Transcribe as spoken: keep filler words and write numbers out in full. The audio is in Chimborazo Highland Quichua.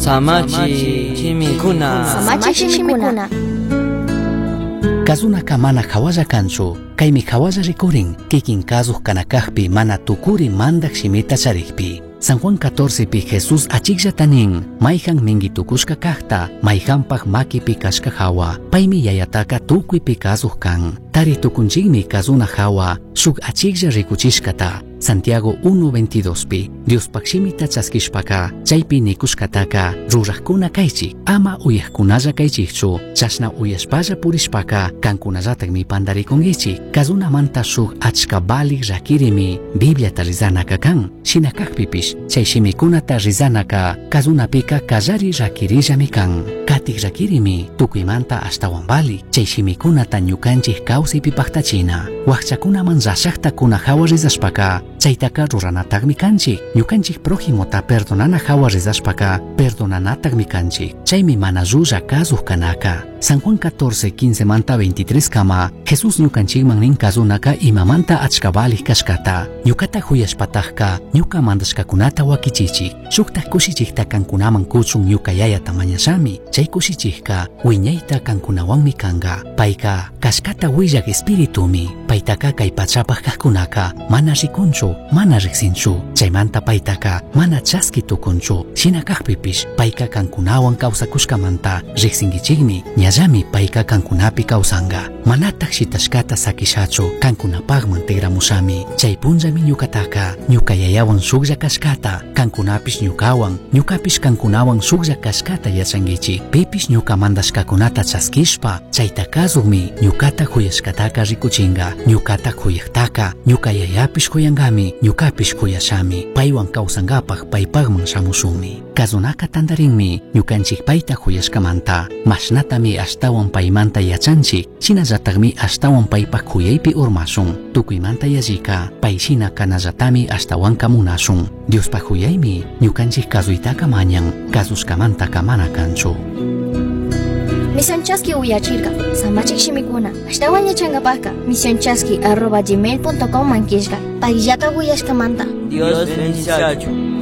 Samachi shimikuna. Samachi shimikuna. Kazunaka mana hawalla kanchu, kaymi hawalla rikurin, kikin kazuq kanakaqpi mana tukuri mandaq shimita charikpi. San Juan catorce pi Jesús achikllata nin, mayhan minkitukushka kaqta, mayhanpaq makipi kashka hawa, paymi yayataka tukuypi kazuq kan. Tari tukunchikmi kazuna hawa, shuk achiklla rikuchishkata. Santiago uno veintidós pi, Diospaq shimita chaskishpaka, chaypi nikushkataka, ruraqkuna kaychik, ama uyaqkunalla kaychikchu, chashna uyashpalla purishpaka, kankunallatakmi pantarikunkichik. Kazunamanta shuk achka valik rakirimi Bibliata rizanaka kan. Shina kakpipish, chay shimikunata rizanaka, kazunapika kallari rakirillami kan. Katik rakirimi, tukuymanta ashtawan valik, chay shimikunata ñukanchik kawsaypi paktachina. Wakchakunaman rashaqta kuna hawa rizashpaka, chaytaka ruranataqmi kanchik. Ñukanchik prójimota perdonana hawa rizashpaka, perdonanataqmi kanchik. Chaymi mana llulla kasuq kanaka. San Juan catorce, quince manta veintitrés kama, Jesús ñukanchikman nin kazunaka imamanta achka valik kashkata. Ñukata huyashpatajka, ñuka mandashkakunata wakichichik. Shuktaq kushichikta kankunaman kuchun ñuka yayata mañashami. Chay kushichikka wiñayta kankunawanmi kanka. Payka kashkata willaq espiritumi. Paytaka kay pachapaq kaqkunaka mana rikunchu, mana riqsinchu. Chaymanta paytaka mana chaski tukunchu. Shina kaqpipish payka kankunawan kawsakushkamanta riqsinkichikmi. Ñallami payka kankunapi kawsanka. Manataq shitashkata sakishachu, kankunapaqman tikramushami. Chay punllami ñukataka, ñuka yayawan shuklla kashkata, kankunapish ñukawan, ñukapish kankunawan shuklla kashkata yachankichik. Pipish ñuka mandashkakunata chaskishpa, chayta kasuqmi ñukata huyashkataka rikuchinka. Ñukata huyaqtaka, ñuka yayapish huyankami, ñukapish huyashami. Paywan kawsankapaq paypaqman shamushunmi. Kazunaka tantarinmi, ñukanchik payta huyashkamanta, mashnatami ashtawan paymanta yachanchik, shinallataqmi ashtawan paypaq huyaypi urmashun. Tukuymanta yallika, pay shina kanallatami ashtawanka munashun. Diospaq huyaymi, ñukanchik kazuytaka mañan, kazushkamantaka mana kanchu. Misión Chaski uyachirka, samachik shimikuna, ashtawan yachankapajka, misión chaski arroba gmail punto com mankishka, payllata uyashkamanta. Dios bendiciachu.